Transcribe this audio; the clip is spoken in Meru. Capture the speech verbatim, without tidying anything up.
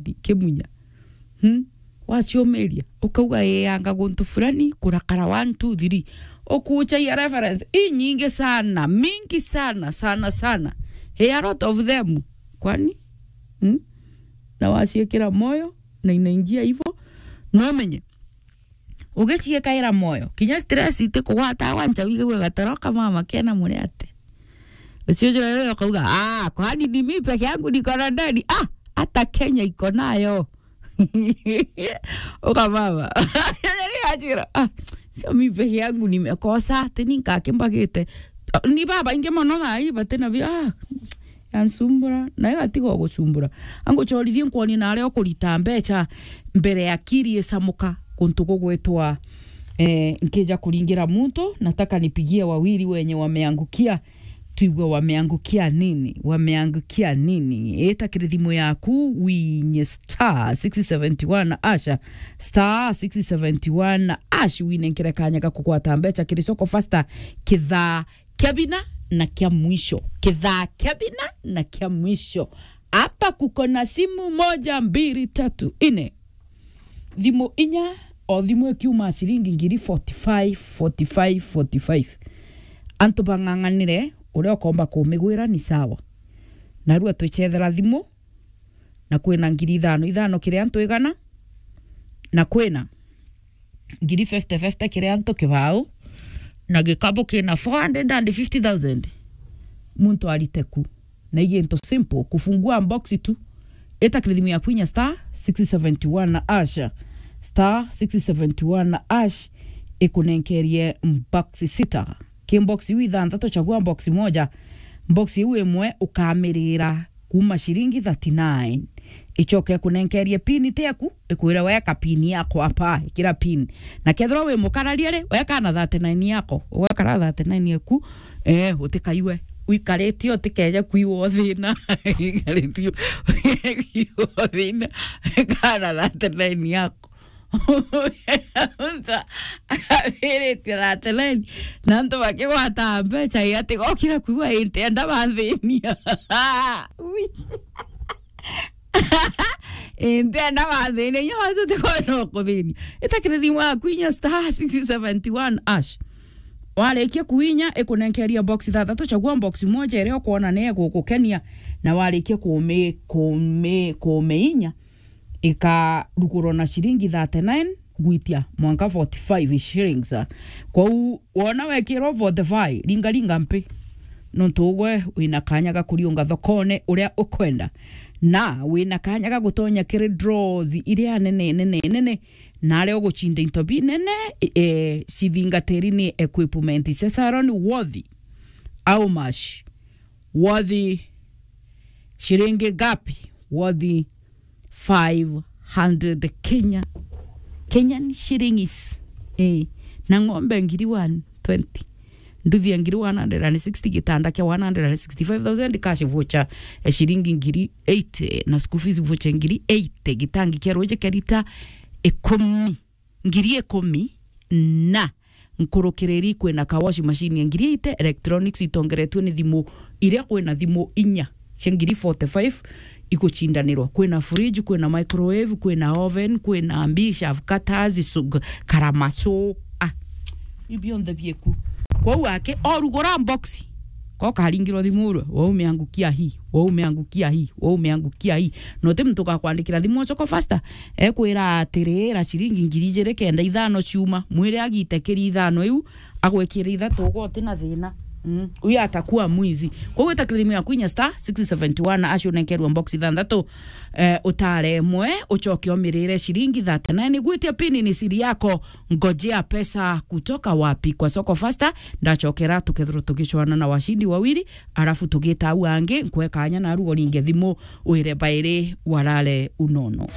Kimunya. Hmm? Waciumiria, ukauga, "Ii, anga guntu fulani, kurakara one, two, three." Ukuchagia reference inyingi sana, mingi sana, sana, sana. Ii, a lot of them. Kwani? Hmm? Na waciikira moyo, na inaingia hivyo, no menye. Ugiciikaira moyo, kinya stress itikugwata, wancha wigue gatoro ka mama kena muri ate. Ucio jura rero ukauga, "Ah, kwani ni mimi peke yangu niko na ndeni? Ah, hata Kenya iko nayo." Uka mama. Ni ajira, "Ah, sio mimi peke yangu nimekosa, ati ni nkakimbagite." Ni baba ingi mono thaa ii batina bi, ah, yansumbura, na igatiga gusumbura. Anguchorithie nkwoni na aria ukurita mbecha mbere ya kiri isamuka kuntu gugwitwa, eh, nkija kuringira muntu, nataka nipigie wawili wenye wameangukia, tuigue wameangukia nini, wameangukia nini. Ita kiri thimu yaku, winye star six seventy one asha, star six seventy one ash, winenkere kanya ga kugwata mbecha kiri Soko Fasta kithaa kia bina na kia mwisho. Kithaa kia bina na kia mwisho. Hapa kuko na simu moja, mbili, tatu, nne. Thimu inya, o thimu ikiuma ciringi ngiri forty five, forty five, forty five. Antu bang'ang'anire, uria ukomba kumigwira ni sawa. Narua twichethera thimu, na kwina ngiri ithano ithano kiri antu igana, na kwina ngiri fifty fifty kiri antu kibao, na gikabu kina four hundred and fifty thousand muntu arite ku. Na i gintu simple, kufungua box tu. Ita kiri thimu yaku inya star six seventy one ash, star six seventy one ash, ikunenkerie box sita. Ki box iu ithanthatu, chagua box moja. Box iu imwe ukamirira kuma ciringi thirty nine. Ichoke kunenkerie pin teku, ikwire, "Weka pin yako hapa, ikira pin." Na kethirwa wi mukararia ri, weka na thirty nine yako, wekara thirty nine yaku, eh, utikaiwe wikaritie, utikeje kuiwa thina. Wikaritie kuiwa thina, kana thirty nine yako. Akabiritie thirty nine, na antu bakigwata mbecha, i ati gokira kuigua intenda bathinia. Ui. Intenda bathinia, inya watu tikwenda kuthinia. Ita kiri thimu yaku inya star six seventy one ash. Warikia kuinya, ikunenkeria box ithathatu, chagua box moja iria ukwona ni igukukenia, na warikia kumi-, kumi-, kumiinya, ikarugurwa na ciringi thirty nine gwitia mwanka forty five shillings. Kwou wona wekirwo forty five, ringa ringa mpi, nontu ugwe wina kanya ga kuriunga thokone uria ukwenda, na wina kanya ga gutonya kiri draws iria nene, nene, nene, na aria uguchinda into binene, e, cithingatiri ni equipment cia salon. Worth how much? Worth ciringi ngapi? Worth five hundred Kenya, Kenyan shillings. Eh, na ng'ombe ngiri one twenty, nduthi ya ngiri one hundred and sixty, gitanda kia one hundred and sixty-five thousand, cash voucher ya shilingi ngiri eighty, na school fees voucher ngiri eighty, gitangi kia ruji kia lita ikumi, ngiri ikumi, na nkurukiriri kwina ka washing machine ya ngiri eighty, electronics itongeretue ni thimu iria kwina thimu inya cia ngiri forty-five igucindanirwa. Kwina fridge, kwina microwave, kwina oven, kwina mbi, shav cutters, sug-, karamaso. Ah, iu bionthe bieku. Kwou aki, orugura box, ko karingirwa thimu urwe, "Waume angukia hii, waume angukia hii, waume angukia hii." Na uti muntu ugakwandikira thimu o Soko Fasta, ekwira atiri, "Ira ciringi ngiri ijiri kenda ithano ciuma." Mwire agite kiri ithano iu, agwikire ithatu ugwe uti na thina. Mm. Huyo atakuwa mwizi. Kwou ita kiri thimu yaku inya star six seventy one ash unenkerwa box ithanthatu, eh, utare imwe, ucoke umirire ciringi thirty nine. Gwitia pin ni siri yako, ngojea pesa kutoka wapi? Kwa Soko Fasta, ndacokera tukethirwa tugicwana na washindi wawili, arafu tugita au angi, nkwe kanya na rugo ringe thimu, wire bairi warare unono.